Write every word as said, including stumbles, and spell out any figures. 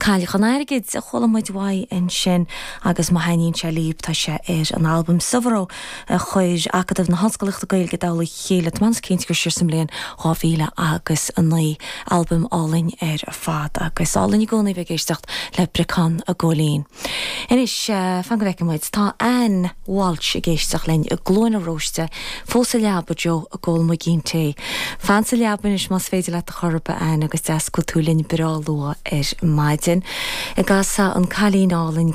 Cailleach an Airgid a chuala muid uaidh ansin agus má thaitníonn sé libh tá sé ar an albam Subhro a chuir Acadamh na hOllscolaíochta Gaeilge i dtoll a chéile tá mé cinnte gur siar sa mbliain dhá mhíle agus a naoi albam álainn ar fad agus álainn i gcónaí bheith ag éisteacht le Breacán Ó Góilín. Anois fan go bhfeicfidh muid tá Ann Walsh ag éisteacht linn i gCluain na Róiste fós sa leaba Joe ag ól muigín tae. Fan sa leaba anois más féidir leat a chor ar bith Ann agus deas go bhfuil tú linn breá luath ar maidin. I gcasa an cailín álainn